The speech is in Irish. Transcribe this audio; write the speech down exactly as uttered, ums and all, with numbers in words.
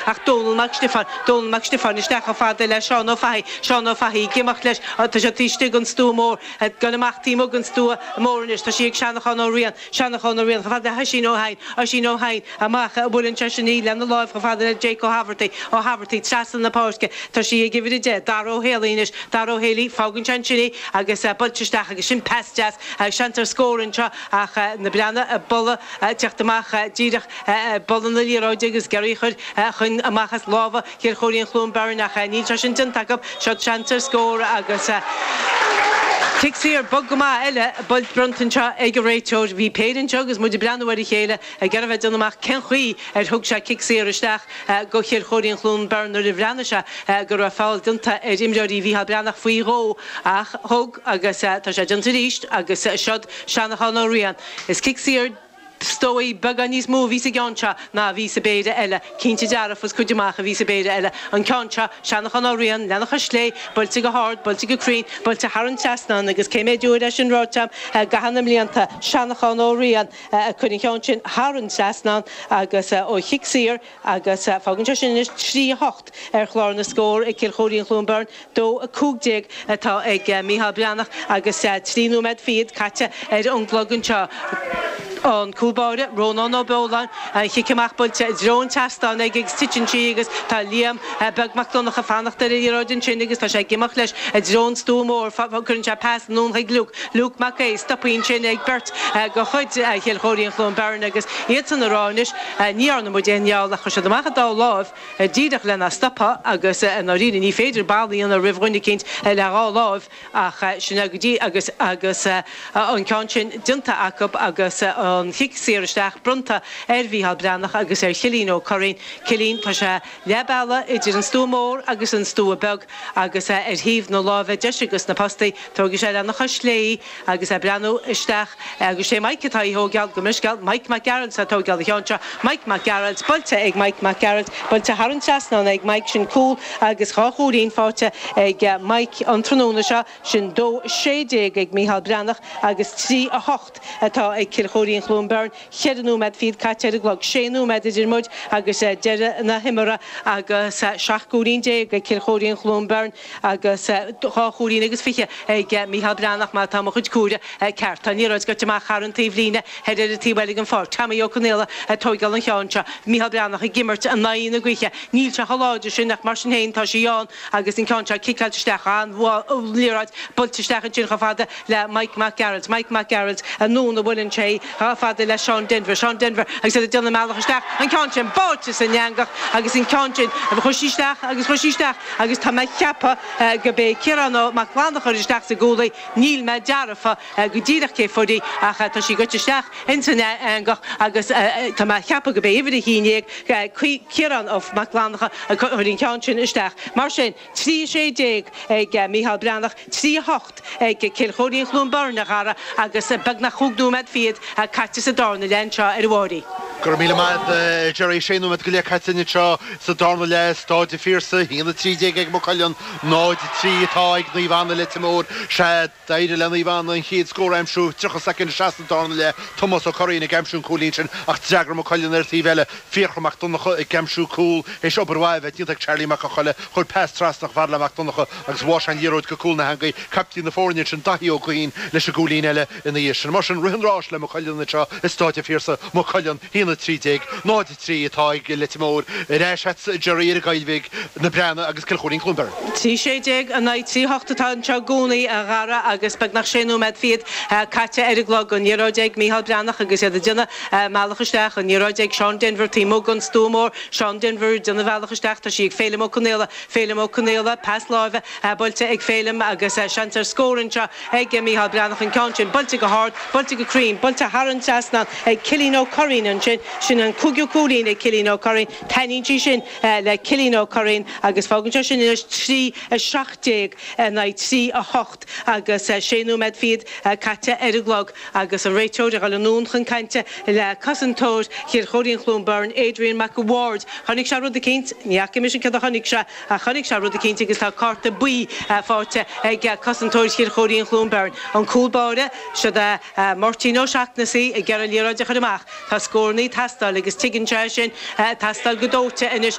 ach Dónal Mac Stiofáin, Dónal Mac Stiofáin isteach chomh fada le Seán Ó Fathaigh, Seán Ó Fathaigh ag imeacht leis, tá sé taobh istigh den stua mór, ag dul amach taobh amuigh den stua mór anois, tá sí ag Seanachán Ó Riain, Seanachán Ó Riain chomh fada le hOisín Ó hEidhin, Oisín Ó hEidhin amach, buaileann seisean í lena láimh chomh fada le Jake Ó hAbhartaigh, Ó hAbhartaigh trasna na páirce, tá sí ag uimhir a deich, Dara Ó Héalaí anois, Dara Ó Héalaí, fágann sé ansin í agus buailte isteach agus sin pas deas, seans ar scór anseo ach na Breathnaigh ag bualadh, teacht amach díreach bualadh na liathróide agus ag iarraidh a chur chun amach as lámha Chill Chóirín Chluain Bheirn ach níl sé sin déanta acu. Seo seans ar scór agus cic saor bog go maith eile buailte bronnta anseo ag an réiteoir. Bhí péire anseo agus muid ag breathnú ar a chéile ag iarraidh a bheith ag déanamh amach cén chaoi ar thug sé cic saor isteach go Chill Chóirín Chluain Bheirn nuair a bhreathnaigh sé go raibh feall déanta ar imreoirí Mhícheál Breathnach faoi dhó ach thug agus tá sé déanta arís agus siod Seanachán Ó Riain. Is cic saor is dóigh, beagán níos mó a bhí sa gceann seo ná a bhí sa bpéire eile. Cinnte dearfa is cuid amach a bhí sa bpéire eile. An ceann seo, Seanachán Ó Riain, lena chois chlé, buailte go hard, buailte go cruinn, buailte thar an trasnán agus cé mhéad uair é sin ráite agam i gcaitheamh na mblianta, Seanachán Ó Riain a chuir an ceann sin thar an trasnán agus ó chic saor agus fágann sé sin anois trí a hocht ar chlár na scór ag Cill Chóirín Chluain Bheirn, dó a cúig déag atá ag Mícheál Breathnach agus trí nóiméad fichead caite ar an gclog anseo. An cúl báire, Rónán Ó Beoláin, an chic amach buailte i dtreo an tseastáin aige agus titeann sí agus tá Liam Beag Mac Donncha ag fanacht ar an liathróid ansin agus tá sé ag imeacht leis i dtreo an stua mór. Cuireann sé pas anonn chuig Luke, Luke Mac Aodha, stoptha ansin ag beirt de chuid Chill Chóirín Chluain Bheirn agus iadsan ag rá anois ní dhearna muid aon fheall ach chuir siad amach an dá láimh díreach lena stopadh agus i ndáiríre ní féidir balla a dhéanamh roimh dhuine eicínt le dhá láimh ach sin é go dtí agus agus an ceann sin déanta acu agus an chic saor isteach bronnta ar Mhícheál Breathnach agus ar Chillín Ó Curraoin. Cillín, tá sé leath bealaigh idir an stua mór agus an stua beag agus ar thaobh na láimhe deise dos na postaí. Tógfaidh sé lena chois chlé í agus é ag breathnú isteach agus sé Mike atá á thógáil, gabh mo leithscéal, Mike Mac Gearailt atá ag tógáil an cheann seo. Mike Mac Gearailt, buailte ag Mike Mac Gearailt, buailte thar an trasnán ag Mike, sin cúl agus dhá chúilín faighte ag Mike an tráthnóna seo. Sin dó sé déag ag Mícheál Breathnach agus trí a hocht atá ag Cill Chóirín Chluain Bheirn. Ceithre nóiméad fichead caite ar an gclog, sé nóiméad idir muid agus deireadh na himeartha agus seacht gcúilín déag ag Cill Chóirín Chluain Bheirn agus dhá chúilín agus fiche ag Mícheál Breathnach má tá mo chuid comhaireamh ceart. Tá an liathróid gaibhte amach thar an taobhlíne thoir ar an taobh eile den pháirc. Tommy Ó Conaola ag tóigeáil an cheann seo. Mícheál Breathnach ag imirt in aghaidh na gaoithe. Níl sé chomh láidir sin ach mar sin féin tá sí ann agus an ceann seo ciceáilte isteach. An-liathróid buailte isteach ansin chomh fada le Mike Mac Gearailt. Mike Mac Gearailt anonn a bhuaileann sé chomh fada le Seán Denvir. Seán Denvir agus iad ag déanamh a mbealach isteach. An ceann sin báite san eangach agus an ceann sin chuaigh sí isteach agus chuaigh sí isteach agus tá mé ag ceapadh go b'é Ciarán Ó Mac Fhlanncha a chuir isteach sa gcúl í. Níl mé dearfa go díreach cé fuair í ach tá sí gaibhte isteach ins an eangach agus tá mé ag ceapadh go b'é uimhir a haon déag Ciarán Ó Mac Fhlanncha a chuir an ceann sin isteach. Mar sin, trí a sé déag ag Mícheál Breathnach, trí a hocht ag Cill Chóirín Chluain Bheirn, a Dhara, agus beagnach chúig nóiméad fichead caite sa darna leath anseo ar an Mháirín. Go raibh míle maith agat, Gerry. Sé nóiméad go leith caite anseo sa darna leath, Staid an Phiarsaigh, a haon a trí déag ag Maigh Cuilinn, náid a trí atá ag Naomh Anna Leitir Móir. Sea, d'éirigh le Naomh Anna an chéad scór a aimsiú, tríocha soicind isteach sa darna leath, Tomás Ó Curraoin ag aimsiú an cúilín sin ach d'fhreagair Maigh Cuilinn ar an taobh eile, Fiachra Mac Donncha ag aimsiú cúl théis obair mhaith a bheith déanta ag Charlie Mac Con Choille, chuir pas trasna chomh fada le Mac Donncha agus bháigh sé an liathróid go cúl na heangaí. Caiptín na foirne ansin, Daithí Ó Guithín, leis an gcúilín eile ina dhiaidh sin. Mar sin, rith an ráis le Maigh Cuilinn anseo i Stáid an Phiarsaigh, Maigh Cuilinn, a haon a trí déag, náid a trí atá ag Leitir Móir. Ar ais agatsa, Gerry, ar an gCoill Bhig, Na Breathnaigh agus Cill Chóirín Chluain Bheirn. Trí sé déag in aghaidh trí hocht atá anseo i gcónaí, a Dhara, agus beagnach sé nóiméad fichead caite ar an gclog. An liathróid ag Mícheál Breathnach agus iad ag déanamh a mbealach isteach. An liathróid ag Seán Denvir taobh amuigh den stua mór. Seán Denvir ag déanamh a bhealach isteach. Tá sí ag Féilim Ó Conaola. Féilim Ó Conaola, pas láimhe buailte ag Féilim agus seans ar scór anseo ag Mícheál Breathnach. An ceann sin buailte go hard, buailte go cruinn, buailte thar an trasnán ag Cillian Ó Curraoin ansin. Sin an cúigiú cúilín ag Cillian Ó Curraoin. Taitníonn sí sin le Cillian Ó Curraoin agus fágann sé sin anois trí a seacht déag in aghaidh trí a hocht agus sé nóiméad fichead caite ar an gclog agus an réiteoir ag dul anonn chun cainte le cosantóir Chill Chóirín Chluain Bheirn, Adrian McAward. Chonaic sé rud eicínt, ní fhaca mise céard a chonaic sé ach chonaic sé rud eicínt agus tá cárta buí faighte ag cosantóir Chill Chóirín Chluain Bheirn. An cúl báire, siod é Máirtín Ó Seachnasaigh ag iarraidh liathróid a chur amach. Tá scóranna ag teastáil agus tuigeann sé sin, ag teastáil go dóite anois.